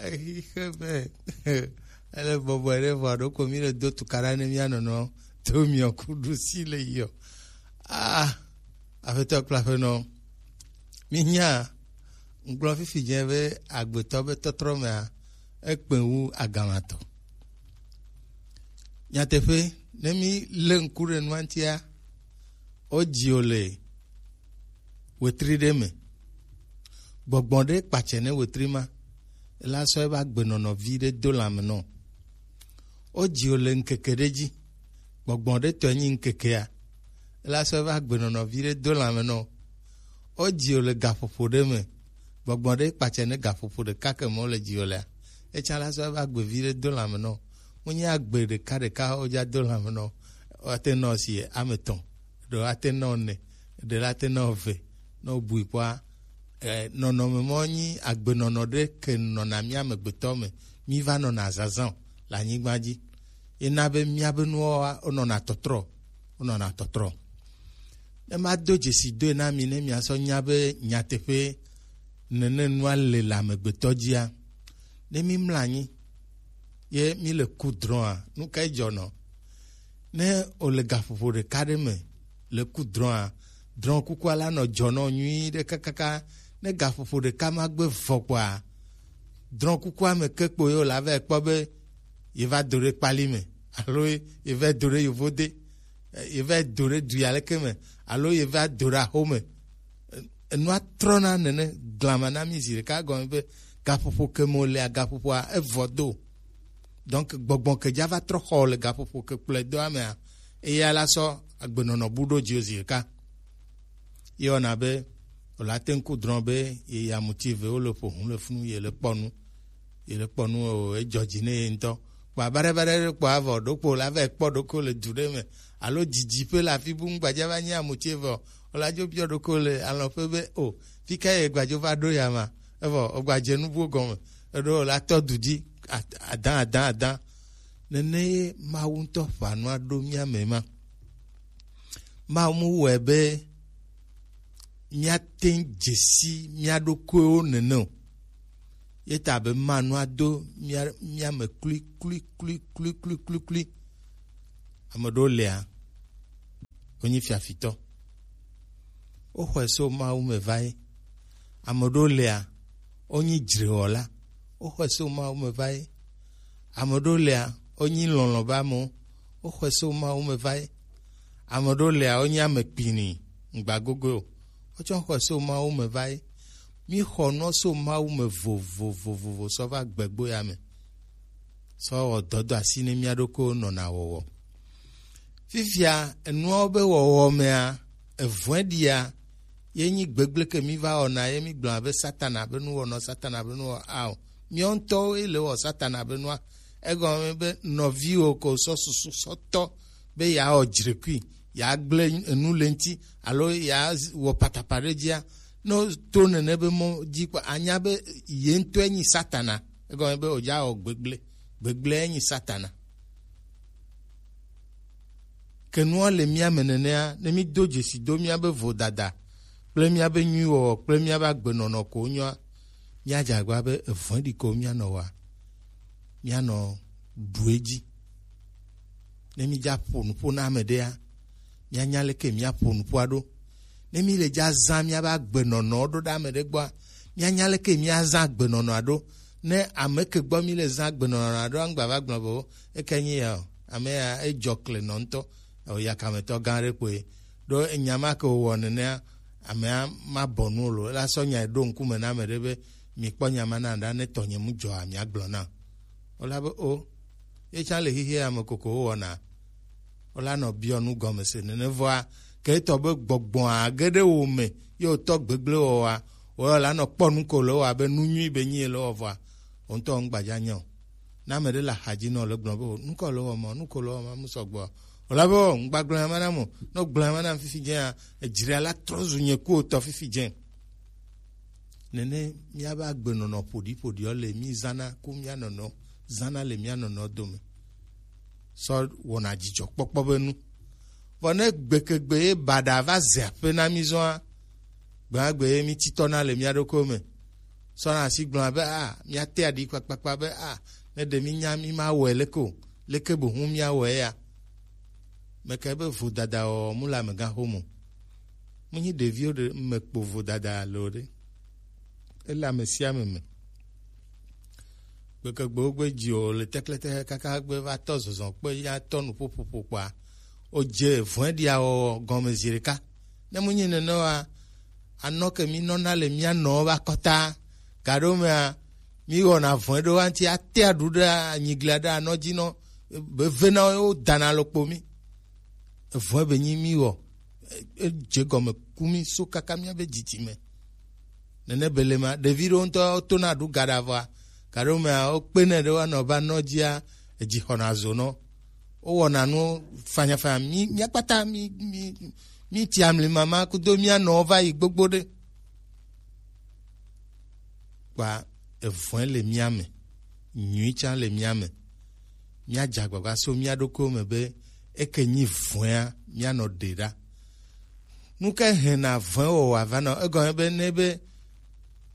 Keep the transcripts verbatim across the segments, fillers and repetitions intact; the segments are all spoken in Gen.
Exixe be ele bɔbɔe ɖe vɔ ɖo ko mi le do tukaɖa ne mia nɔnɔ to miɔ kuɖu si le yɔ. Ah, afetɔ kple aƒenɔ, mi nya ŋgblɔ fifi dze be agbetɔ be tɔtrɔ mea ekpe wu agamatɔ. Nyateƒe, ne mi le ŋku ɖe nua ŋutia, wo dzi wo le wetri ɖe me. Gbɔgbɔ ɖe kpatsɛ ne wetri ma, ela sɔ ebe agbenɔnɔ vi ɖe do lãme nɔ. Wo dzi wo le ŋkeke ɖe dzi, gbɔgbɔ ɖe tɔe nyi ŋkekea, ela sɔ ebe agbenɔnɔ vi ɖe do lãme nɔ. Wo dzi wo le gaƒoƒo ɖe me, gbɔgbɔ ɖe kpatsɛ ne gaƒoƒo ɖeka ke me wo le dzi wo lea, etsã la sɔ ebe agbe vi ɖe do lãme nɔ. Menye agbe ɖeka ɖeka wo dza do lãme nɔ, woate nɔ si ame etɔ̃, ɖe woate nɔ ene, ɖe la te nɔ eve, ne wobui kpɔa, eh, nɔnɔme mɔ nyi agbenɔnɔ ɖe ke nɔna mía amegbetɔ me, mí va nɔna zazã le anyigba dzi. Ena be míabe nuwo wa-, wonɔna tɔtrɔ, wonɔna tɔtrɔ. Ne mado dzesi doe na mi, ne miasɔ nya be nyateƒe nene nua le le amegbetɔ dzia, ne mi mlɔ anyi, ye mi le ku drɔa, nu kae dzɔnɔ? Ne o le gaƒoƒo ɖeka ɖe me le ku drɔa, drɔ kukua la nɔ dzɔnɔ nyui ɖe kakaka. Ne gaƒoƒo ɖeka ma gbe vɔ kpɔa, drɔ kukua me ke kpo ye o la va kpɔ be ye va do ɖe kpali me, alo ye va do ɖe yovode, eh, ye va do ɖe du ya leke me, alo ye va do ɖe axo me. Enua trɔna nene glama na mi zi ɖeka gɔme be gaƒoƒo ke me wòlea, gaƒoƒoa evɔ do. Donc gbɔgbɔ ke dza va trɔ xɔ le gaƒoƒo ke kplɔe do amea, eya la sɔ agbenɔnɔ bu ɖo dziwò zi ɖeka. Ye wɔna be wòla te ŋu ku drɔ̃ be ye ya muti ve wo le ƒo hu le funu ye le kpɔ nu, ye le kpɔ nu o, edzɔ dzi ne ye ŋutɔ. Kpɔ abaɖebaɖe ɖe kpɔ avɔ ɖokpo la va kpɔ ɖokpo le du ɖe me alo didi ƒe le afi bu ŋgbadza va nyi amuti evɔ, wòla dzo biɔ ɖokpo le alɔƒe be o, fi ka ye gbadzo va ɖo ya ma? Evɔ wògbadze nu buwo gɔme, eɖo wòla tɔ du dzi ad-, adã, adã, adã. Nene ye Mawu ŋutɔ ƒa nua ɖo mía me ma. Mawu mu wɔe be míate ŋu dze si mía ɖokuiwo nene o. Ye ta be ma nua do mía, mía me klui, klui, klui. Ame ɖewo lia, wonyi fiafitɔ. Woxɔe so Mawu me va ye. Ame ɖewo lia, wonyi dzrewɔla. Woxɔe so Mawu me va ye. Ame ɖewo lia, wonyi lɔlɔ̃ be amewo. Woxɔe so Mawu me va ye. Ame ɖewo lia, wonyi ame kpini, ŋgba gogoe o. Wotsɔ xɔe so Mawu me va ye. Míxɔ nua so Mawu me vovovovo sɔ va gbegbo ya me. Sɔ wɔ dɔdɔ asi ne mía ɖokuiwo nɔna wɔwɔ. Fifia, enuawo be wɔwɔ mea, evɔ̃e ɖia, ye nyi gbegblẽ ke mí va wɔna, ye mí gblɔna be Satana be nuwɔna, Satana be nuwɔna o. Míawo ŋutɔwo ye le wɔ Satana be nua. Egɔme be nɔviwò ko sɔ susu sɔ tɔ be yeawɔ dzrekui, yeagblẽ enu le ŋuti, alo yeawɔ patapa ɖe dzia, ne to nene be mɔ dzi kpɔ, anya be ye ŋutɔe nyi Satana. Egɔme be wòdza wɔ gbegblẽ. Gbegblẽe nyi Satana. Ke nua le mía me nenea, ne mído dzesi do míabe vodada kple míabe nyuiwɔwɔ kple míabe agbenɔnɔ ko wonyoa, míadze agbagba be evɔ̃ɖi ko míanɔ wɔa, míanɔ ɖu edzi. Ne mídza ƒo nuƒo na ame ɖea, míanya leke míaƒo nuƒoa ɖo. Ne míle dza zã míabe agbenɔnɔwo ɖo ɖe ame ɖe gbɔa, míanya leke míazã agbenɔnɔa ɖo. Ne ame ke gbɔ míle zã agbenɔnɔa ɖo, aŋgba va gblɔ be, o, eke nyi ya o, ame ya edzɔ kle nɔ ŋutɔ, o, yakametɔ gã ɖe kpoe. Ɖo enya ma ke wòwɔ nenea, amea ma bɔ nu o lo, ela sɔ nya ɖo ŋkume na ame ɖe be, mi kpɔ nya ma na ɖa, ne tɔnye mu dzɔa, mia gblɔ na. Wola be, o, ye tsã le xixia me koko wowɔna. Wola nɔ biɔ nu gɔme se nene vɔa, ke etɔ be gbɔgbɔa ge ɖe wo me, ye wòtɔ gbegblẽ wɔwɔa, wòla nɔ kpɔ nu ko le wɔ abe nu nyui be nyi le wɔ vɔa, wò ŋutɔ ŋgbadza nya o. Ne ame ɖe le axadzi nɔ le gblɔ be, o, nu kɔ le wɔ ma, nu ko le wɔ ma, mu sɔgbɔ. Wòla be, o, ŋgba gblɔ nya ma na mo, ne gblɔ nya ma na fifi dzea, edzra la trɔ zu nye ku wòtɔ fifi dze. Nene míabe agbenɔnɔ ƒoɖiƒoɖiɔ le mí zãna ku mía nɔnɔ zãna le mía nɔnɔ dome sɔ wɔna dzidzɔkpɔkpɔ be nu. Vɔ ne gbekegbe ye baɖa va ze aƒe na mí zɔa, gbegbe ye mí titɔna le mía ɖokuiwo me. sɔna asi gblɔna be a, míate aɖi kpakpakpa be a, ne ɖe mínya mí ma wɔe leke o, leke bo ŋu míawɔe ya? Meka be vodada wɔ mu le amegã xome. Mu nyi ɖeviwo ɖe me kpo vodada lo ɖe. Ele ame sia ame me. Gbekegbewo gbe dzi o le teklete kaka gbe va tɔ zɔzɔ kpe ya tɔ nu ƒoƒoƒo kpɔa, o dze vɔe ɖia wɔwɔ gɔme zi ɖeka. Ne mu nyi nene wa, anɔ ke mi nɔna le mía nɔ va kɔta, gaɖo mea, mi wɔna vɔe ɖo wa ŋuti ate aɖu ɖe anyiglia ɖe anɔ dzi nɔ, be vena wo dana lo kpo mi. Evɔe be nyi mi wɔ, e-, edze gɔme ku mi so kaka míabe dzidzime. Nene be le ma, ɖevi ɖewo ŋutɔ tona ɖu gaɖa vɔa, gaɖo mea, wokpena ɖe woanɔ va nɔ dzia, edzi xɔna zo nɔ. Wowɔna nu fanyafanya, mi, mía kpata, mi, mi, mi ti amli mama kudo mía nɔ va yi gbogbo ɖe. Kpa evɔe le mía me, nyui tsã le mía me. Míadze agbagba so mía ɖokuiwo me be eke nyi vɔea, míanɔ ɖe ɖa. Nu ka hɛna vɔe wɔwɔ avanɔ? Egɔme be ne be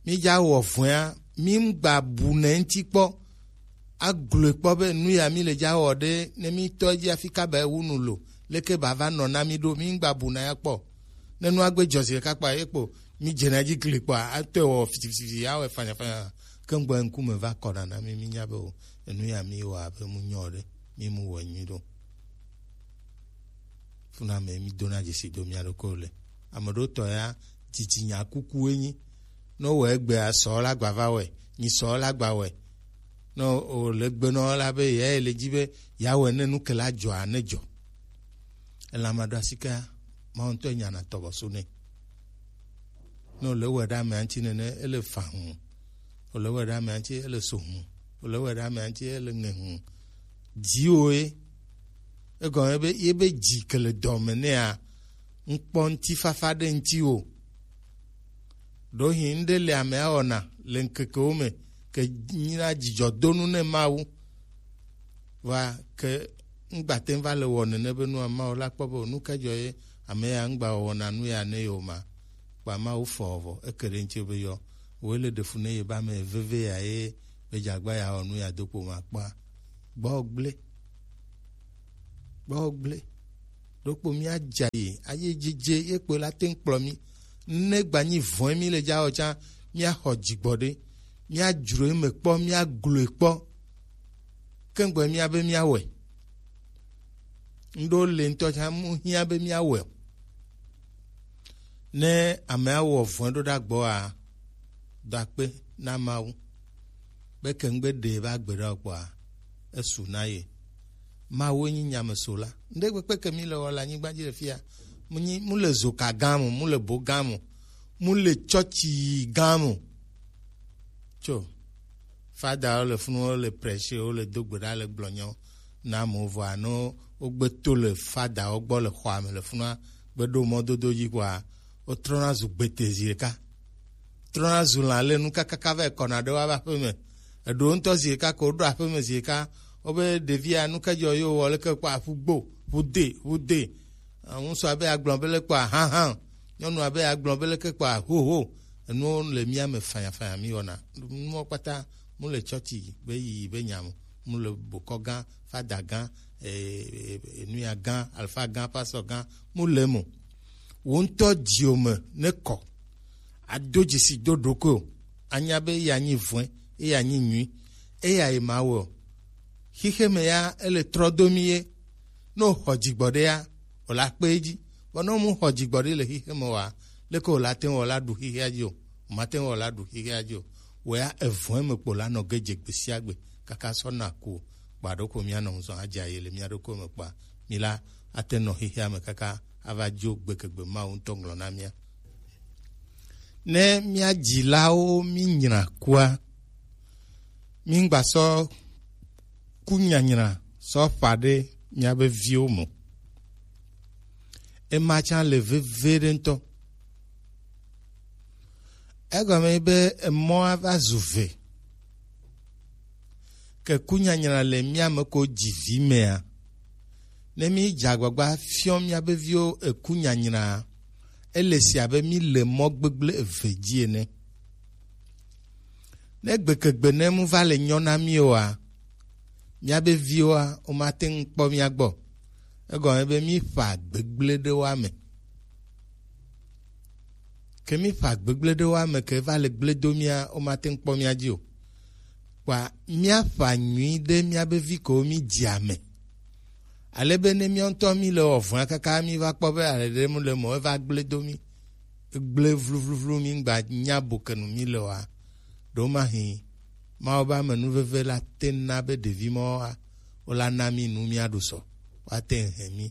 mídza wɔ vɔea, mí ŋgba bu nɛ ŋuti kpɔ, agloe kpɔ be nu ya mí le dza wɔ ɖe, ne mí tɔ edzi afi ka ba ewu nu lo, leke ba va nɔ na mí ɖo, mí ŋgba bu na ya kpɔ. Ne nua gbe dzɔ zi ɖeka kpɔa, ye kpo mí dzena edzi gli kpɔa, atɔe wɔ fitifiti, awɔe fanyafanya. Ke ŋgbɔ ŋkume va kɔna na mí, mí nya be o, enu ya mí wɔ abe mu nyɔ ɖe, mí mu wɔ nyui ɖo. Funa me mí dona dzesi do mía ɖokui le. Ame ɖewo tɔ ya, dzitsinya kuku enyi. Ne wowɔ egbea, sɔ la gba va wɔe, nyi sɔ la gba wɔe. Ne o le gbe nɔ la be ya le dzi be ya wɔe ne nu ke la dzɔa ne dzɔ. Elama ɖo asi kea, Mawu ŋutɔ nyana tɔbɔso nɛ. Ne wòle wɔe ɖe amea ŋuti nene, ele fa hũ. Wòle wɔe ɖe amea ŋuti, ele so hũ. Wòle wɔe ɖe amea ŋuti, ele ŋe hũ. Dziwò ye. Egɔme be, ye be dzi ke le dɔ me nɛa, ŋkpɔ ŋutifafa ɖe ŋuti o. Ɖewohĩ ŋɖe le amea wɔna le ŋkekewo me, ke nyina dzidzɔdonu ne Mawu. Vɔa ke ŋgba te ŋu va le wɔ nene be nua, Mawu la kpɔ be nu ka dzɔ ye ame ya ŋgba wɔna nu ya ne yewo ma. Kpa Mawu fɔ vɔ, eke ɖe ŋuti be yɔ. Woe le ɖe fu ne ye ba me veve ya ye be dzagba ya wɔ nu ya do kpo ma kpɔa. Gbɔ gble. Gbɔ gble. Ɖokpo mía dza yi, aye dzidze ye kpo la te ŋu kplɔ mí. Ne gba nyi vɔe mí le dza wɔ tsã, mía xɔ dzigbɔ ɖe. Mía dzro eme kpɔ, mía gloe kpɔ. Ke ŋgbɔ mía be mía wɔe. Ŋɖo le ŋutɔ tsã mu hiã be mía wɔe o. Ne amea wɔ vɔe ɖo ɖe agbɔa, do akpe na Mawu. Be ke ŋgbe ɖe va gbe ɖe o kpɔa, esu na ye. Mawu nyi nyamesola. Ŋɖe kpekpe ke mi le wɔ le anyigba dzi le fia, mu nyi, mu le zoka gã mo, mu le bo gã mo, mu le tsɔtsi gã mo. Tso, fadawo le funu, wo le prêcher, wo le do gbe ɖa le gblɔ nyawo na amewo vɔa, ne wogbe to le fadawo gbɔ le xɔa me le funua, gbe ɖo mɔdodo dzi kpɔa, wotrɔna zu gbete zi ɖeka. Trɔna zu lã le nu kakaka va yi kɔna ɖe woƒe aƒe me. Eɖewo ŋutɔ zi ɖeka ko woɖo aƒe me zi ɖeka. Wobe ɖevia nu ka dzɔ yewo wɔ leke kpɔa, ƒu gbo, ƒu de, ƒu de. Ŋutsu abe agblɔ be le kpɔa, hã, hã. Nyɔnu abe agblɔ be leke kpɔa, ho, ho. Enuwo le mía me fanyafanya mí wɔna. Nuwo kpata mu le tsɔtsi be yiyi be nya mo. Mu le bokɔ gã, fada gã, e, e, e, nuya gã, alfa gã, pasɔ gã, mu le mo. Wo ŋutɔ dziwò me ne kɔ. Ado dzesi do ɖokuiwò. Anya be eya nyi vɔe, eya nyi nyui, eya ye ma wɔ. Xixe me ya, ele trɔ do mi ye. Ne wòxɔ dzigbɔɖi ya, wòla kpe edzi. Vɔ ne wòmu xɔ dzigbɔɖi le xixe me oa, leke wòla te ŋu wɔ la ɖu xixea dzi o? Wòmate ŋu wɔ la ɖu xixea dzi o. Wɔ ya evɔe me kpo la nɔ ge dze gbe sia gbe kaka sɔ na ku o. Kpa ɖo ko mía nɔ ŋzɔn adze aye le mía ɖokui me kpɔa, mí la ate nɔ xixea me kaka ava dzo gbekegbe Mawu ŋutɔ ŋlɔ na mía. Ne mía dzilawo mí nyra kua, mí ŋgba sɔ ku nyanyra sɔ ƒã ɖe míabe viwo me o. Ema tsã le veviɖe ŋutɔ. Egɔme be emɔa va zu ve. Ke kunyanyra le mía me ko dzi vi mea, ne mí dze agbagba fiɔ míabe viwo ekunyanyraa, ele se abe mí le mɔ gbegblẽ eve dzi ene. Ne gbekegbe ne mu va le nyɔ na mí oa, míabe viwoa, womate ŋu kpɔ mía gbɔ. Egɔme be mífa gbegblẽ ɖe woa me. Ke mífa gbegblẽ ɖe woa me ke va le gblẽ do mía, womate ŋu kpɔ mía dzi o. Kpɔa míafa nyui ɖe míabe vi kewo mídzia me. Ale be ne míawo ŋutɔ míle wɔ vɔ̃a kaka míva kpɔ be ale ɖe mu le mɔ eva gblẽ do mí, gblẽ vluvluvlu mí ŋgba nya bo ke nu míle oa, ɖo mahi Mawu be amenuveve la te na be ɖevi mawoa, wola na mí nu míaɖu sɔ, woate ŋu hɛn mí.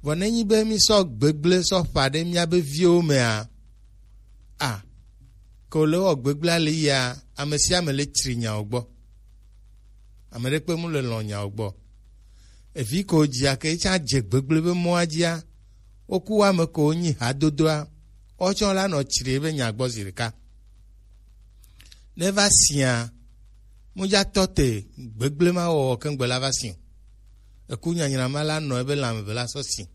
Vɔ nenyi be mísɔ gbegblẽ sɔ ƒã ɖe míabe viwo mea, a, ke wòle wɔ gbegblẽa le yia, ame sia ame le tsri nyawo gbɔ. Ame ɖekpe mu le lɔ̃ nyawo gbɔ. Evi ko dzia ke etsã dze gbegblẽ be mɔa dzia, woku wo ame ko wonyi hadodoa, wotsɔ la nɔ tsri ebe nya gbɔ zi ɖeka. Ne va sia, mudzatɔ te gbegblẽ ma wɔwɔ keŋgbe la va si o. Eku nyanyra ma la nɔ ebe lãme be la sɔ si.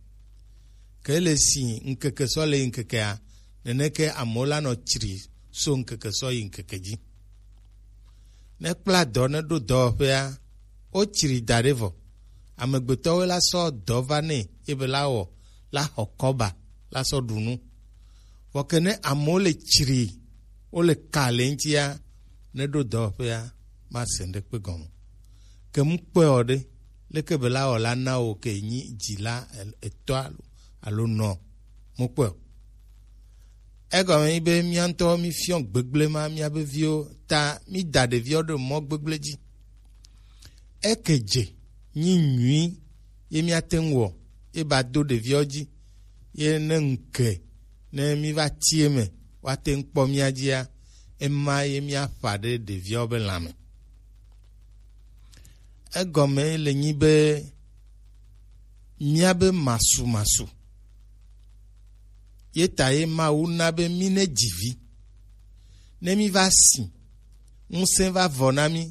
Ke le si ŋkeke sɔ le yi ŋkekea, neneke amewo la nɔ tsri so ŋkeke sɔ yi ŋkeke dzi. Ne kpla dɔ ne ɖo dɔwɔƒea, wotsri da ɖe vɔ. Amegbetɔwoe la sɔ dɔ va nɛ ebe la wɔ la xɔ kɔba la sɔ ɖu nu. Vɔ ke ne amewo le tsri, wole ka le ŋutia, ne ɖo dɔwɔƒea, mase ŋɖekpe gɔme. Ke mu kpɔe ɔ ɖe, leke be la wɔ la na wò ke nyi dzila etɔ alo, alo nɔ? Mu kpɔe o. Egɔme nyi be mía ŋutɔ mífiɔ gbegblẽ ma míabe viwo ta mída ɖeviwo ɖe mɔ gbegblẽ dzi. Eke dze nyi nyui ye míate ŋu wɔ ye ba do ɖeviwo dzi ye ne ŋke ne míva ti eme woate ŋu kpɔ mía dzia, ema ye míaƒã ɖe ɖeviawo be lãme. Egɔme le nyi be míabe masumasu ye ta ye Mawu na be mí ne dzi vi. Ne mí va si, ŋusẽ va vɔ na mí,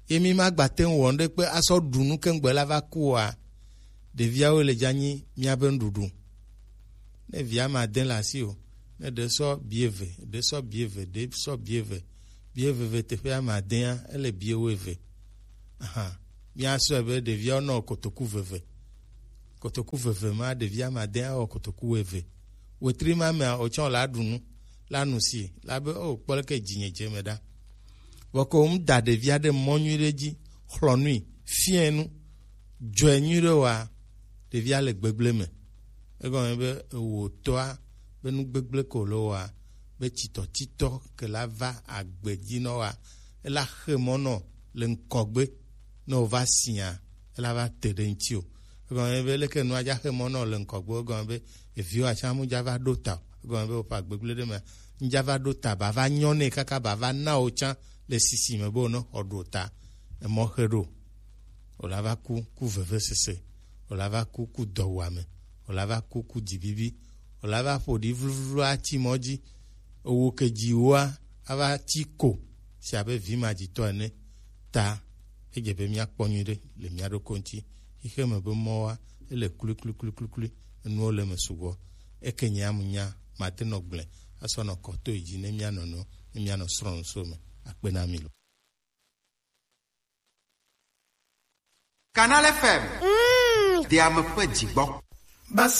ye mí magbate ŋu wɔ ŋɖekpe asɔ ɖu nu keŋgbe la va ku oa, ɖeviawo le dza nyi míabe nuɖuɖu. Ne via ma de le asi o, ne ɖe sɔ bi eve, ɖe sɔ bi eve, ɖe sɔ bi eve, bi eve ve teƒea ma dea, ele bi ewo eve. Aha, míasɔe be ɖeviawo nɔ kotoku veve. Kotoku veve ma ɖevia ma de awɔ kotoku eve. Wetri ma mea, wotsɔ la ɖu nu, la nu si, la be, "O, kpɔ leke dzinye dze me ɖa." Vɔ ko ŋu da ɖevia ɖe mɔ nyui ɖe dzi, xlɔ nui, fiɛ nu, dzɔe nyui ɖe wa, ɖevia le gbegblẽ me. Egɔme be ewò tɔa be nu gbegblẽ ko le wa, be titɔtitɔ ke la va agbe dzi nɔ wa, ela xe mɔ nɔ le ŋkɔgbe, ne wòva sia, ela va te ɖe ŋuti o. Egɔme be leke nua dza xe mɔ nɔ le ŋkɔgbe, egɔme be eviwo atsa mu dza va ɖo ta o. Egɔme be woƒe agbegblẽ ɖe me, ŋdza va ɖo ta, ba va nyɔ nɛ kaka ba va na wo tsã le sisi me be wone xɔ ɖo ta. Emɔ xe ɖo. Wòla va ku, ku vevesese. Wòla va ku, ku dɔwuame. Wòla va ku, ku dzibibi. Wòla va ƒo ɖi vluvlu ati mɔ dzi. Ewo ke dzi woa, ava ti ko si abe vi madzitɔ ene. Ta, edze be míakpɔ nyuiɖe le mía ɖokui ŋuti. Xixe me be mɔwoa, ele kluikluikluiklui, enuwo le eme sugbɔ. Eke nye amu nya, mate nɔ gblẽ, asɔ nɔ kɔ to yi dzi ne mía nɔnɔewo, ne mía nɔ srɔ̃ nusrɔ̃ me. Akpe na mi lo. Canal F M. Mm. Deame ƒe dzigbɔ. Basa